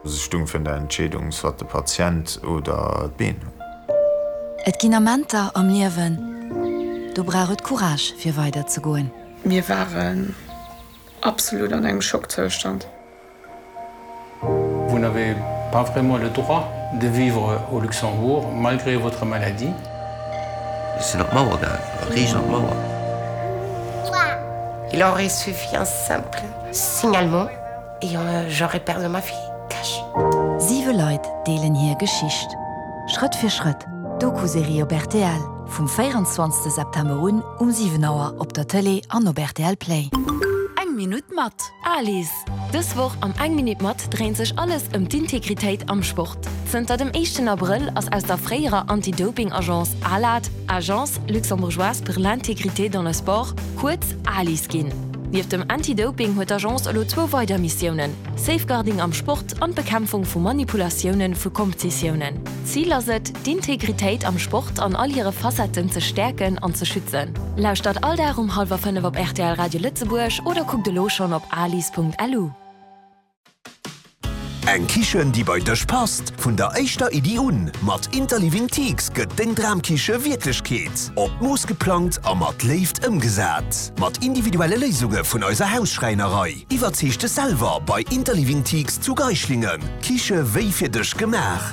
Se stung virun der Entscheedung, soit de Patient oder d'Been. Et ginn Amenter am Liewen, do brauch et Courage fir weider ze goen. Mir waren absolut an engem Schockzoustand. Vous n'avez pas vraiment le droit de vivre au Luxembourg malgré votre maladie. Ech sinn op d'Mauer gaang, riicht an d'Mauer. Il aurait suffi un simple signalement et j'aurais perdu ma fille, cash. Siwe Leit deelen hir Geschicht. Schrëtt fir Schrëtt, Doku-Serie op rtl, vum 24 September un um 7 Auer op der Tëlee an op rtl Play. Eng Minutt mat Alice! Dës Woch am Eng Minutt mat dréint sech alles ëm d'Integritéit am Sport. Zënter dem éischten Abrëll ass aus der fréierer Anti-Doping-Agence ALAD, Agence luxembourgeoise pour l'intégrité dans le sport, kuerz ALIS ginn. Nieft dem Anti-Doping huet d'Agence elo zwou weider Missiounen, Safeguarding am Sport an d'Bekämpfung vu Manipulatioune vu Komptitiounen. Zil ass et, d'Integritéit am Sport an all hire Facetten ze stäerken an ze schützen. Lauschtert all Dag um hallwer 5 op rtl Radio Lëtzebuerg oder kuckt elo schonn op alis.lu. Eng Kichen, déi bei dech passt, vun der éischter Iddi un. Mat Interliving Teaks gëtt deng Dramkiche Wierklechkeet. Op d'Mooss geplangt a mat Léift ëmgesat. Mat individuelle Léisunge vun eiser Hausschräinerei. Iwwerzeeg dech selwer bei Interliving Teaks zu Geischlingen. Kiche wéi fir dech gemaach.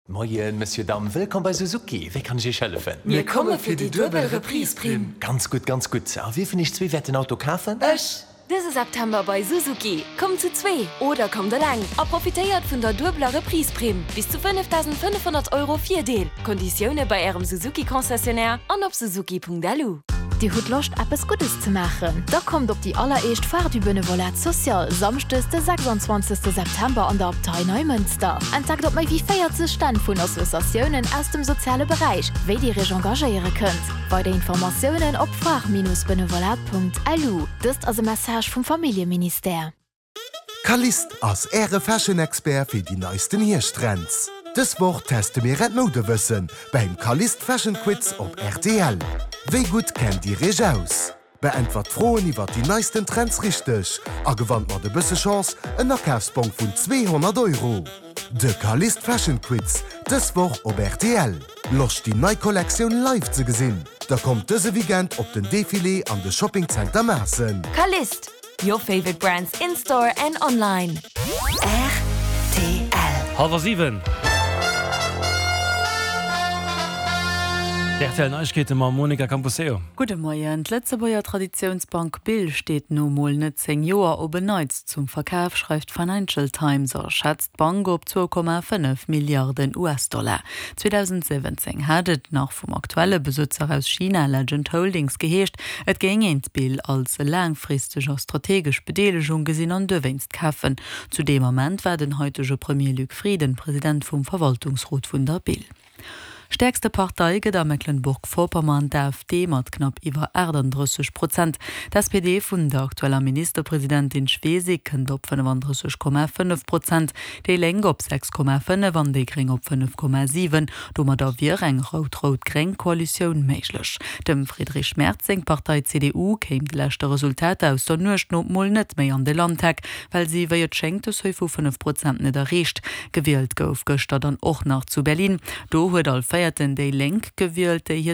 Moien, Monsieur, Dame, wëllkomm bei Suzuki. Wéi kann ech Iech hëllefen? Mir komme fir déi duebel Reprise-Primm. Ganz gutt, ganz gutt. A wie vun Iech zwee wäert den Auto kafen? Ech! Dëse September bei Suzuki, Kommt zu zwee oder kommt eleng a profitéiert vun der duebeler Reprise-Primm, bis zu 5.500 Euro Virdeel. Konditioune bei Ärem Suzuki-Concessionnaire an op suzuki.lu. Dir hutt Loscht eppes Guddes ze maachen? Da kommt op déi alleréischt Foire du Benevolat Social, Samschdes de 26 September an der Abtei Neimënster. Entdeckt op méi wéi 40 Stänn vun Associatiounen aus dem soziale Beräich, wéi Dir Iech engagéiere kënnt. Weider Informatiounen op foire-benevolat.lu. Dëst ass e Message vum Familljeministère. Calliste ass Äre Fashion Expert fir déi neisten Hierschttrends. Dës Woch teste mir Äert Moudewëssen beim Calliste Fashion Quiz op rtl. Wéi gutt kennt Dir Iech aus? Beäntwert d'Froen iwwert déi neisten Trends richteg a gewannt mat e bësse Chance en Akafsbong vun 200 Euro. De Calliste Fashion Quiz dës Woch op rtl. Loscht déi nei Kollektioun live ze gesinn? Da kommt dëse Weekend op den Defilé an de Shopping Center Maassen. Calliste, Your favorite brands in store and online. Rtl. Hallwer 7. D'RTL Neiegkeete mam Monica Camposeo. Gudde Moien. D'Lëtzebuerger Traditiounsbank Bill steet no mol net 10 Joer op en Neits zum Verkaf, schreift d'Financial Times a schätzt d'Bank op 2,5 Milliarden US-Dollar. 2017 hat et nach vum aktuelle Besëtzer aus China, Legend Holdings, geheescht, et géing een d'Bill als laangfristeg a strategesch Bedeelegung gesinn an duerwéinst kafen. Zu deem Ament war den haitege Premier Luc Frieden President vum Verwaltungsrot vun der Bill. Stäerkste Partei gëtt a Mecklenburg-Vorpommern d'AfD mat knapp iwwer 38 Prozent. D'SPD vun der aktueller Ministerpresidentin Schwesig kënnt op 35,5 Prozent, déi Lénk op 6,5 an déi Gréng op 5,7. Domadder wier eng rout-rout-gréng Koalitioun méiglech. Dem Friedrich Merz seng Partei CDU kéim de leschte Resultater aus der Nuecht no mol net méi an de Landtag, well si wéi et schéngt de Seuil vu 5 Prozent net erreecht. Gewielt gouf gëschter dann och nach zu Berlin. Do huet all Véierten déi Lénk gewielt, déi hir.